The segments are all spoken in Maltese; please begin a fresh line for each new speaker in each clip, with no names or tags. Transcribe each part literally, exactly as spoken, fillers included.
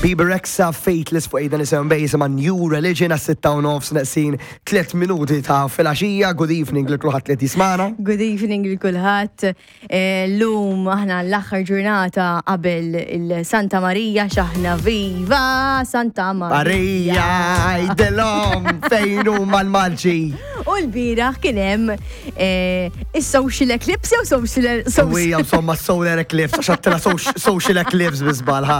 Bebe Rexha, Faithless fuq eight ninety-seven jisimha New Religion għas-sitta u nofs neqsin tliet minuti ta' filgħaxija. Good evening lil kulħadd li jismagħna.
Good evening lil kulħadd. Eh, Llum aħna l-aħħar ġurnata qabel il-Santa Marija, x'aħna viva Santa Marija.
Marija, għidilhom fejn huma l-marċi.
U l-bieraħ kien hemm eh, is-social eclipse jew social
Ewwija, insomma, solar eclipse, għax għedtilha social eclipse bi żball, ha.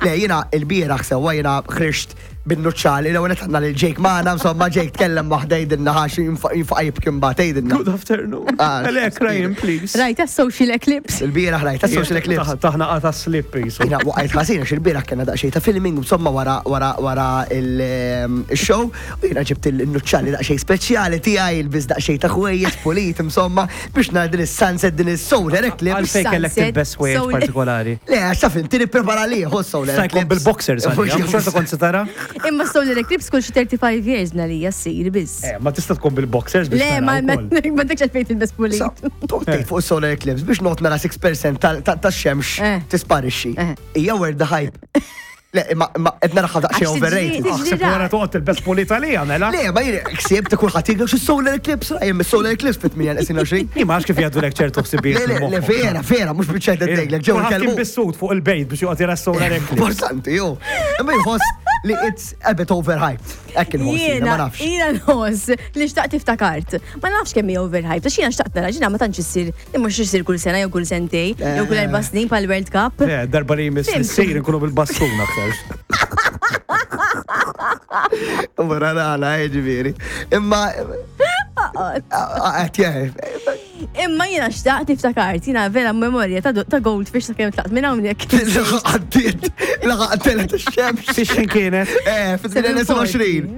Le, jiena il-bieraħ sewwa jiena ħriġt bin-nuċċali, l-ewwel għandna lil Jake magħna, insomma, Jake tkellem waħda, jgħidilna ħax jinfaqa jibki mbagħad, jgħidilna.
Good afternoon.
Ah,
Elek, Ryan, please.
Rajta social eclipse.
Il-bieraħ rajta social eclipse.
Taħna qata slip jisu.
Jiena waqajt ħażin għax il-bieraħ kellna daqsxejn ta' filming, insomma, wara wara wara il-show u jiena ġibt il-nuċċali daqsxejn speċjali tiegħi, ilbist daqsxejn ta' ħwejjeġ pulit, insomma, biex nara din is-sunset, din is-solar eclipse.
Għalfejn kellek
Sunset,
tilbes ħwejjeġ
solar-
partikolari?
Le, għax taf inti nipprepara li solar
Sta jkun
eclipse.
bil-boxers għalija, mhux xorta kont se tara?
Imma solar eclipse kull xi thirty-five years nalija ssir biss.
Eh, ma tista' tkun bil-boxers biex
Le,
tara
ma ma
wkoll.
ma dak għalfejn tilbes pulit.
Toqtejt fuq solar eclipse biex not nara sitt fil-mija tax-xemx
Eh.
tisparixxi.
Eh.
Hija worth the hype. Le, imma imma qed naraha daqsxejn
Għax tiġri-
overrated.
tiġri
Aħseb wara toqgħod tilbes pulit għalija, mela.
Le, ma jien ksieb ta' kulħadd jgħid xi solar eclipse, rajjem solar eclipse fit-tmienja neqsin għoxrin.
Imma għax kif jgħaddu lek ċertu ħsibijiet.
Le, le, le, vera, vera, mhux biċċajt ngħidlek, ġew
Kulħadd kien
ikellmu.
bis-sut fuq il-bejt biex joqgħod jara s-solar eclipse.
Importanti, jo. Imma jħoss li it's a bit overhyped. Hekk inħoss, jiena, ma
Jiena,
nafx.
jiena nħoss li xtaqt iftakart. Ma nafx kemm hija overhyped, għax jiena xtaqt nara ġina ma tantx issir, li mhux issir kull sena jew kull sentej, jew kull erba' snin pal World Cup.
Le, darba li jmiss
Fhimt.
issir nkunu bil-bastun aktar.
Wara nagħla, ġifieri. Imma qed jeħ.
Imma jiena xtaqt iftakart, jiena vera memorja ta' ta' goldfish ta' kemm tlaqt minn hawnhekk.
Laħaq għaddiet, laħaq telgħet ix-xemx.
Fix kienet?
Eh, fit-tmienja neqsin għoxrin.